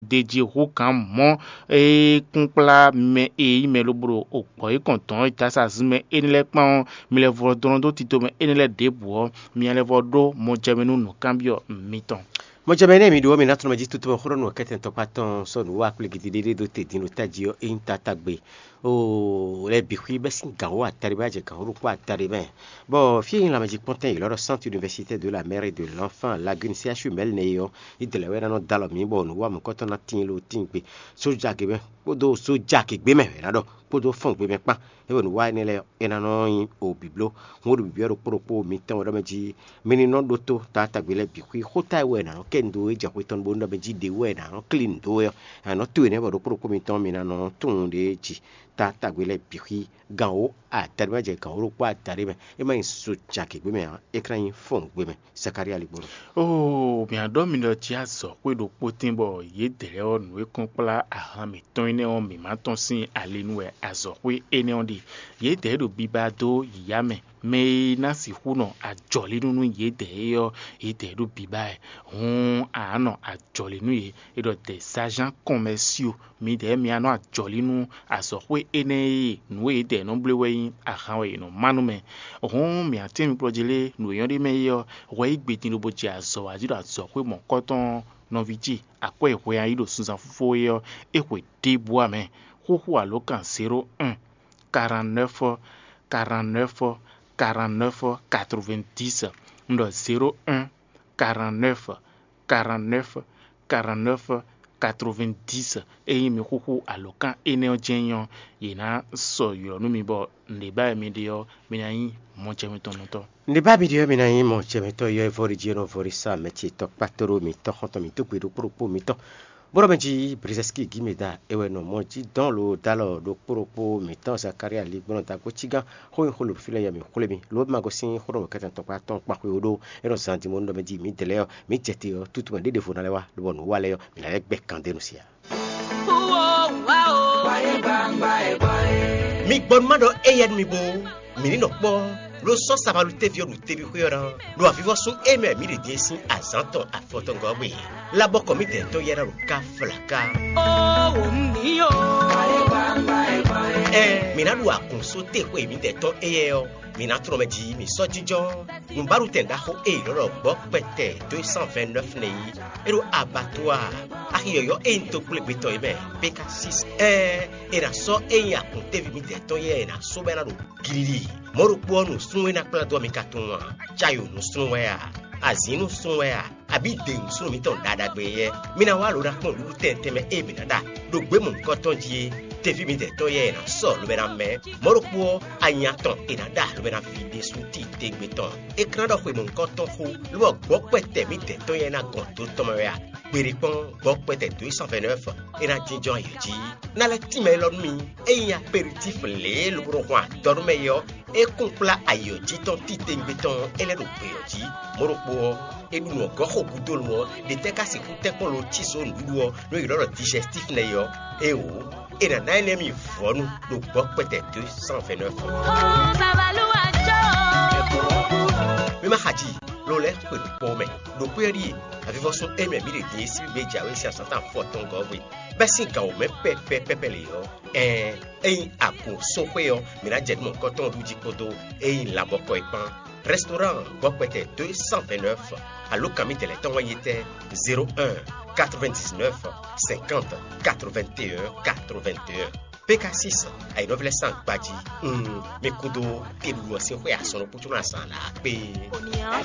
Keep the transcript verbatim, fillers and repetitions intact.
Deji hú gǎn mɔ̌ e kún kplá mɛ e nyí mɛ lobo ɖo gbɔ̌ yěkɔn dɔn ɔ́, dasazin mɛ énɛ́ lɛ́ɛ kpán ɔ́, mi lɛ́ vɔ dɔn dó tito mɛ énɛ́ lɛ́ɛ ɖěbǔ ɔ́, mi lɛ́ vɔ ɖó mɔjɛmɛ nú nǔkanbyɔ́ mitɔn. Mɔjɛmɛ énɛ́ mi ɖó ɔ́, mi ná tunɔ mɛ jí tútú mɛ xó ɖɔ nǔ kɛ́tɛn tɔkpá tɔn sɔ́ nǔ wa kplé gidigidi ɖó te din ɖo tají ɔ́, é nyí tatágbe. Oo, lɛ́ bǐ xwí bɛ́ sín gǎn wó atari bá jɛ gǎn wó ɖokpó atari mɛ. Bɔ fí e nyí lanmɛjikpɔ́ntɛn yě lɔ́ ɖɔ Centre Universitaire de la Mère et de l'Enfant Lagune C H U Mɛ̌li nɛ́ é ɔ́, yi dɛ̌ lɛ́ɛ wɛ ná nɔ dó alɔ mǐ bɔ nǔ wa mɔ̌kɔtɔn ná tíin lo tíin gbe. Sójagbe mɛ kpódó sójagbe mɛ wɛ ná ɖɔ kpódó fɔ́n gbe mɛ kpán. É wɛ nǔ wa énɛ́ lɛ́ɛ é ná nɔ nyí o bǐbló. Hǔn ɖo bǐbí ɔ́ ɖokpó ɖokpó mitɔn wɛ ɖɔ mɛ jí mi ní nɔ ɖótó taatagbe lɛ́ɛ bǐ xwí. Xóta e wɛ è nǎ nɔ kɛ nǔ dó é jɛ xwé tɔn bónú ɖɔ mɛ jí ɖě wɛ è nǎ nɔ klí nǔ dó wɛ ɔ́, è nǎ nɔ to énɛ́ bɔ ɖokpó ɖokpó mitɔn mi ná nɔ tunwun ɖě jí taatagbe lɛ́ɛ bǐ xwí. Gǎn wó adaɖé ma jɛ gǎn wó ɖokpó adaɖé mɛ. É má nyí so jagěgbé mɛ ǎ, é ka ná nyí fɔ́n gbe mɛ. Zakalía ligbolo. Oo, mǐ á ɖɔ mi ɖɔ jí azɔ̌xwé ɖokpó tɛ́n bɔ yědɛɛ ɔ́ nǔ e kɔn kplá ahan mǐtɔn énɛ́ ɔ́ mǐ ma tɔ́n sín ali nú wɛ azɔ̌xwé énɛ́ ɔ́ ɖe. Yědɛɛ ɖo biba dó yǐyá mɛ. Mɛ e ná sixú nɔ ajɔ̌línú nú yědɛɛ é ɔ́, yědɛɛ ɖo biba wɛ. Hǔn a nǎ nɔ ajɔ̌lí nú yě. È ɖɔ dɛ Sajan kɔnmɛsio, midɛɛ mi nɔ ajɔ̌lí nú azɔ̌xwé énɛ́ e nǔ e yědɛɛ nɔ bló wɛ nyí ahan wɛ yě nɔ má nú mɛ. Hǔn mǐ atɛ́n mi kplɔ́ jí lé nǔ e nyɔ́ ɖ'é mɛ é ɔ́, hwɛ yí gbe din lobo jɛ azɔ̌ wá jí ɖo azɔ̌xwé mɔ̌kɔtɔn nɔví ce akwɛ́ e hwe a yí ɖo sunzan fífó é ɔ́, é hwe ɖěbǔ ǎ mɛ. Xúxú alǒkan zéro un, quarante-neuf, quarante-neuf, quarante-neuf, quatre-vingt-dix. Un ɖɔ zéro un, quarante-neuf, quarante-neuf, quarante-neuf, quatre-vingt-dix. Ényí mi xúxú alǒkan énɛ́ ɔ́ jɛ́n nyí ɔ́, yě ná sɔ ylɔ̌ nú mi bɔ nǔɖé ba wɛ mi ɖe ɔ́, mi ná nyí mɔjɛmɛtɔ́nɔtɔ́. Nǔɖé ba mi ɖe ɔ́, mi ná nyí mɔjɛmɛtɔ́ yɔ e vɔ́ ɖi jí e nɔ vɔ́ ɖi sá mɛ ce tɔkpá tóɖó mǐtɔn xɔ́ntɔn mǐ dó gbe ɖokpó ɖokpó mǐtɔn. Bó ɖɔ mɛ jí Brizɛski Gimeda é wɛ nɔ mɔ jí dɔn lo dó alɔ ɖokpó ɖokpó mǐtɔn Zakalía ligbɔ́nɔ dagbo cígán xó nyi xó lo fí lɛ́ɛ yɛ mǐ xwlé mi, lo ma gosín xó ɖɔ mɔ̌kɛtɛn tɔkpá tɔn kpa xwé ó ɖó é nɔ zan din mɔ nú ɖɔ mɛ jí mǐ dɛ lɛ́ɛ ɔ́, mǐ jɛ te ɔ́, tútú mɛ ɖěɖěvo ná lɛ́ wá, lobɔ nǔ wa lɛ́ɛ ɔ́, mǐ ná lɛ́ gbɛ kan dó nu sia. Mi gbɔ nú má ɖɔ éyɛ́ nú mi bó, mǐ ní nɔ kpɔ́, ló sɔ́ sabalú téví ɔ́ ɖo teví xwé ɔ́ ná, ɖo avivɔ́sún e mɛ mǐ ɖe din é sín azǎn tɔn afɔtɔngɔ́ gbe. Labɔkɔ mǐdɛɛ tɔn yɛ́ ná ɖo ká flaka. Ó wǒ un ní ó. Ɛn, mǐ ná ɖu agun só te xwe mǐdɛɛ tɔn éyɛ́ ɔ́, mǐ ná tlɔ́n mɛ jí mǐ sɔ́ jínjɔ́n. Nǔbáɖutɛn ɖaxó e è nɔ ɖɔ gbɔ̌ kpɛtɛ deux cent vingt-neuf nɛ́ yí, é ɖo abattoir axi yɔ̌yɔ́ e nyí toxwlégbetɔ́ é mɛ, Péka six. Ɛn, è nǎ sɔ́ é nyí akun téví mǐdɛɛ tɔn yɛ́ è nǎ sɔ́ bɔ é ná ɖo glili. Mɔ̌ ɖokpó ɔ́, nǔsúnnú e ná kplá dó ɔ mi ka tunwun a? Cayo nǔsúnnú wɛ a? Azǐn nǔsúnnú wɛ a? Abǐ dě nǔsúnnú mǐtɔn ɖaɖagbe yɛ́? Mi ná wá lo ná kpɔ́n nǔɖuɖu tɛnmɛ tɛnmɛ e mǐ ná ɖa ɖo gběmɔ̌hunkɔ tɔn jí é. Teví mǐdɛɛ tɔn yɛ́ è nǎ sɔ lobɛ ná mɛ. Mɔ̌ ɖokpó ɔ́, anya tɔn è nǎ ɖa lobɛ ná ví ɖésú titewungbe tɔn. É klán ɖɔ xwemɔ nukɔntɔn xó, lobɔ gbɔ̌ kpɛtɛ mǐdɛɛ tɔn yɛ́ ná gɔn do tɔn mɛ wɛ a? Gbeɖé kpɔ́n, gbɔ̌ kpɛtɛ dǒ yi cent vingt-neuf é ná jínjɔ́n ayǐ jí. Ná lɛ́ tínmɛ élɔ́ nú mì, ényí aperitif lě e lobo nɔ hwan adɔ nú mɛ é ɔ́, é kún kplá ayǐ ɔ́ jí tɔn titewungbe tɔn ɔ́, é lɛ́ ɖo gbě ɔ́ jí. Mɔ̌ ɖokpó ɔ́, é ɖu nǔ ɔ́ gɔ́ xo gúdo lo ɔ́, ɖě tɛ́ ka sixú tɛ́nkpɔ́n lo cí zǒ nǔɖuɖu ɔ́, nú è ylɔ́ ɖɔ digestif nɛ́ é ɔ́? Éeǒ, è nǎ ná énɛ́ mi vɔ̌nu ɖo gbɔ̌ kpɛtɛ deux cent vingt-neuf. Mi ma xa ji, lo lɛ́ xwe ɖo kpɔ́ mɛ. Ɖo xwé ɔ́ ɖíe, avivɔ́sún émí mǐ ɖe din e sín gbé jǎwe sín azǎn tɔn afɔtɔngɔ́ hwe, bɛ́ sín gǎn wǒ mɛ pɛ́pɛ́pɛ́pɛ́ lě ɔ́, ɛɛn, ényí agun só xwé ɔ́, mǐ ná jɛ nǔ mɔ̌hunkɔtɔn ɖu jí kpódó ényí labɔkɔ é kpán. Restaurant gbɔ́kpɛtɛ deux cent vingt-neuf, alǒkan mǐtɛn lɛ́ɛ tɔn wɛ nyí tɛ́? Zéro un, quatre-vingt-dix-neuf, cinquante, quatre-vingt-un, quatre-vingt-un. P K six, ayǐnɔ́ví lɛ́ɛ sín agbají. Mm, mi kúdó teɖuɖu ɔ́ sín xwé azɔn ɖokpó có nɔ azǎn lǎ kpé.